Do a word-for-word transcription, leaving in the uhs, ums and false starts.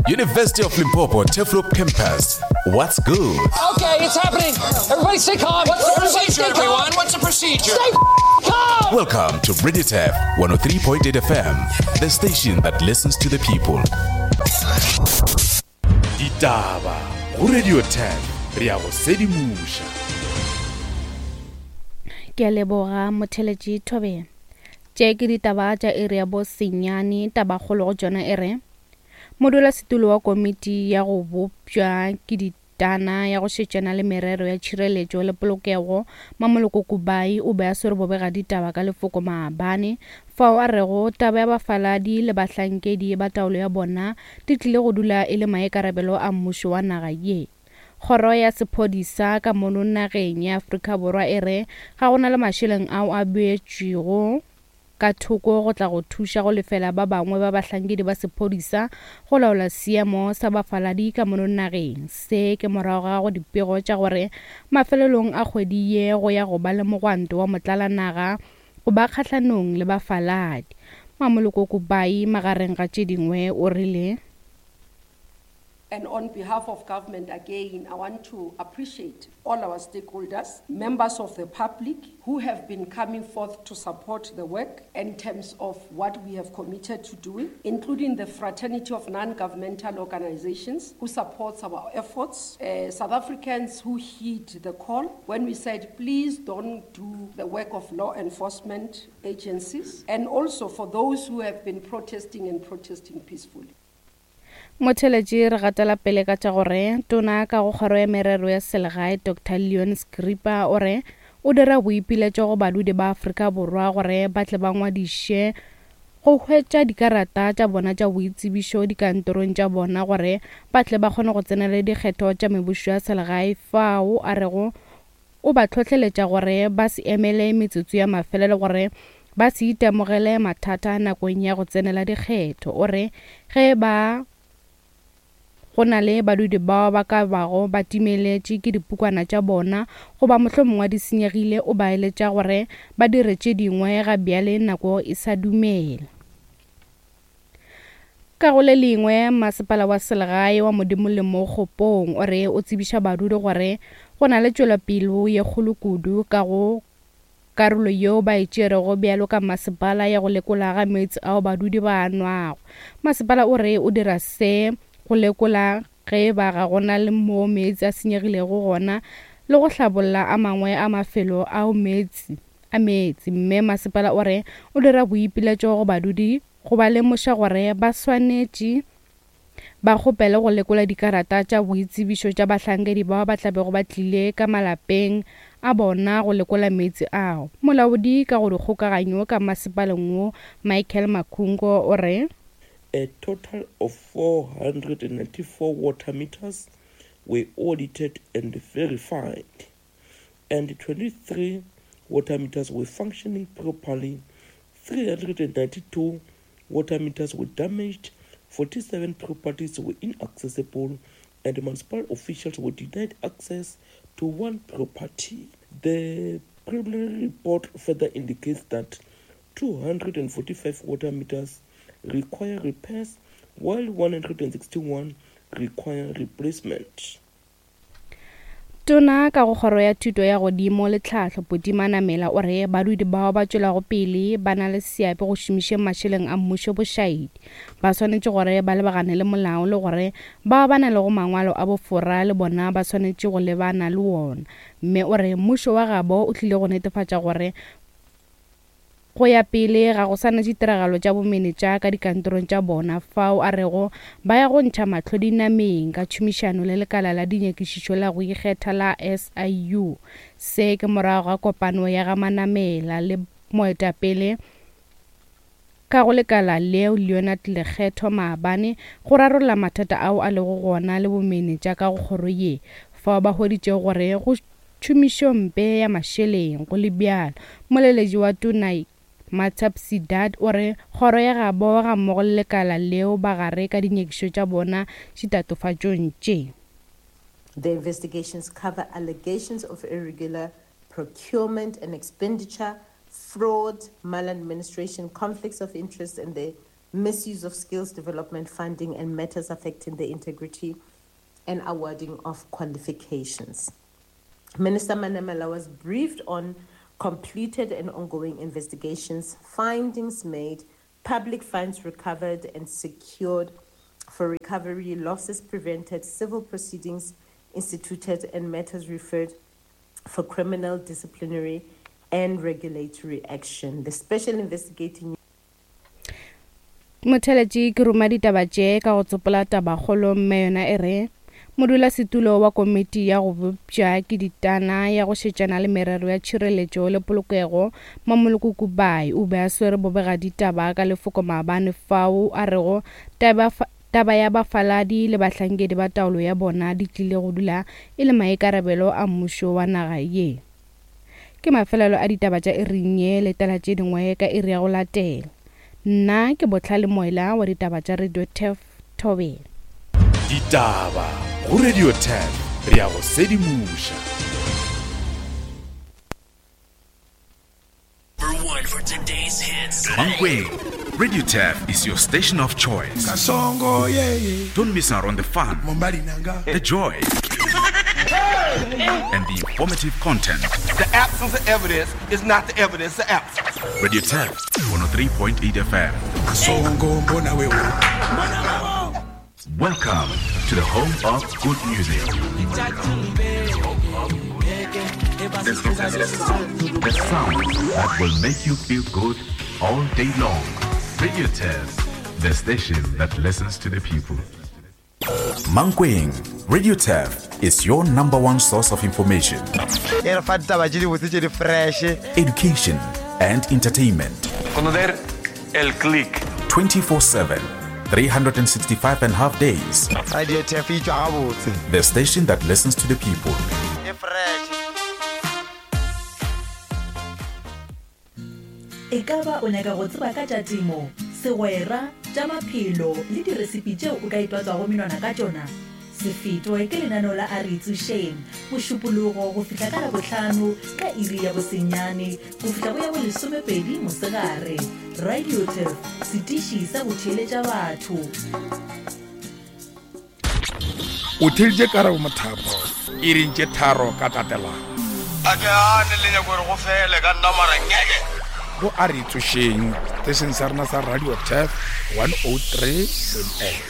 University of Limpopo Turfloop Campus. What's good? Okay, it's happening. Everybody stay calm. What's the Everybody procedure, stay calm. everyone? What's the procedure? Stay calm. Welcome to Radio Turf one oh three point eight F M, the station that listens to the people. Ditaba go Radio Turf, re a go sedimoša. Ke a leboga motheletši Thobela. Tše ke ditaba tša iri ya bo senyane, tabakgolo go tšona e re modulasetulo wa komiti ya go bopša ke ditana ya go šetšana le merero ya tšhireletšo le polokego Mamoloko Kubai o be a swere bobega ditaba ka lefoko maabane fao a rego taba ya bafaladi le bahlankedi ba taolo ya bona di tlile go dula e le maikarabelo a mmušo wa naga ye. Kgoro ya sephodisa ka mono nageng ya Afrika Borwa e re ga go na le mašeleng ao a beetšwego ka thoko go tla go thuša go lefela ba bangwe ba bahlankedi ba sephodisa go laola seemo sa bafaladi ka mono nageng. Se ke morago ga go dipego tša gore mafelelong a kgwedi ye go ya go ba le mogwanto wa motlalanaga go ba kgahlanong le bafaladi. Mamoloko Kubai magareng ga tše dingwe o rile: And on behalf of government, again, I want to appreciate all our stakeholders, members of the public who have been coming forth to support the work in terms of what we have committed to doing, including the fraternity of non-governmental organizations who supports our efforts, uh, South Africans who heed the call when we said, please don't do the work of law enforcement agencies, and also for those who have been protesting and protesting peacefully. Motheletši re gatela pele ka tša gore tona ka go kgoro ya merero ya selegae Doctor Leon Scripa o re o dira boipiletšo go badudi ba Afrika Borwa gore ba tle ba ngwadiše go hwetša dikarata tša bona tša boitsebišo dikantorong tša bona gore ba tle ba kgone go tsenela dikgetho tša mebušo ya selegae fao a rego o ba hlohleletša gore ba se emele metsotso ya mafelelo gore ba se itemogele mathata nakong ya go tsenela dikgetho. O re ge ba go na le badudi bao ba ka bago ba timeletše ke dipukwana tša bona goba mohlomongwe di senyegile, o ba eletša gore ba dire tše dingwe ga bjale nako e sa dumela. Ka go le lengwe, masepala wa selegae wa Modimo le Mokgopong o re o tsebiša badudi gore go na le tšwelopele ye kgolo kudu ka go karolo yeo ba e tšerego bjalo ka masepala ya go lekola ga meetse ao badudi ba a nwago. Masepala o re o dira se go lekola ge ba ga gona le mo meetse a senyegilego gona le go hlabolla a mangwe a mafelo ao meetse a meetse. Mme masepala o re o dira boipiletšo go badudi go ba lemoša gore ba swanetše ba kgopele go lekola dikarata tša boitsebišo tša bahlankedi bao ba tlabego ba tlile ka malapeng a bona go lekola meetse ao. Molaodi ka go dikgokaganyo ka masepaleng wo Michael Makungo o re a total of four hundred ninety-four water meters were audited and verified, and twenty-three water meters were functioning properly, three hundred ninety-two water meters were damaged, forty-seven properties were inaccessible, and municipal officials were denied access to one property. The preliminary report further indicates that two hundred forty-five water meters require repairs, while one hundred sixty-one require replacement. Tona ka go kgoro ya thuto ya godimo le tlhahlo Buti Manamela o re badudi bao ba tšwelago pele ba na le seabe go šomišeng mašeleng a mmušo bošaedi ba swanetše gore ba lebagane le molao le gore bao ba na lego mangwalo a bofora le bona ba swanetše go lebana le wona. Mme o re mmušo wa gabo o tlile go netefatša gore go ya pele ga go sa na ditiragalo tša bomenetša ka dikantorong tša bona fao a rego ba ya go ntšha mahlo dinameng ka tšhomišano le lekala la dinyakišišo la go ikgetha la S I U. Se ke morago ga kopano ya ga Manamela le moetapele ka go lekala leo Leonard Lekgetho maabane go rarolla mathata ao a lego gona le bomenetša ka go kgoro ye fao ba hweditšego gore go tšhomišompe ya mašeleng go le bjalo. Moleletši wa tona Matsap Sidat o re kgoro ya gabo ga mmogo le lekala leo ba gare ka dinyakišišo tša bona ditatofatšong tše. The investigations cover allegations of irregular procurement and expenditure, fraud, maladministration, conflicts of interest, and the misuse of skills development funding, and matters affecting the integrity and awarding of qualifications. Minister Manamela was briefed on completed and ongoing investigations, findings made, public funds recovered and secured for recovery, losses prevented, civil proceedings instituted, and matters referred for criminal, disciplinary, and regulatory action. The special investigating Motheletši ke ruma ditaba tše ka go tsopola tabakgolo mme yona e re modulasetulo wa komiti ya go bopša ke ditana ya go šetšana le merero ya tšhireletšo le polokego Mmamoloko Kubayi o be a swere bobegaditaba ka lefoko maabane fao a rego taba taba ya bafaladi le bahlankedi ba taolo ya bona di tlile go dula e le maikarabelo a mmušo wa naga ye. Ke mafelelo a ditaba tša iring ye le tala tše dingwe ka iri ya go latela. Nna ke Botlhale Moela wa ditaba tša Radio Turf Thobela. Ditaba go Radio Turf re ya go sedimoša. Number one for today's hits. Mankweng, Radio Turf is your station of choice. Kasongo, yeah, yeah. Don't miss out on the fun, Mombali nanga. the joy, and the informative content. The absence of evidence is not the evidence of absence. Radio Turf one oh three point eight F M. Kasongo, mbona wewe. Welcome to the home of good music. The sound that will make you feel good all day long. Radio Turf, the station that listens to the people. Mankweng, Radio Turf is your number one source of information, education, and entertainment. Conocer el click. twenty-four seven, three hundred sixty-five and a half days. Radio Turf e tšwa gabotse. The station that listens to the people. E fresh. E ka ba o nyaka go tseba ka tša temo, segwera, tša maphelo le diresipi tšeo o ka itwatswago menwana ka tšona? Se fetwe ke lenaneo la A Re Itsošeng, Mošupologo go fihla ka Labohlano ka iri ya bosenyane go fihla go ya bolesomepedi mosegare. Radio Turf, setiši sa go theeletša batho. O theeditše Karabo Mothapo iring tše tharo ka tatelano. A ke ane le nyako gore go fele ka nna mara ngeke. Go A Re Itsošeng, station sa rena sa Radio Turf one oh three point eight.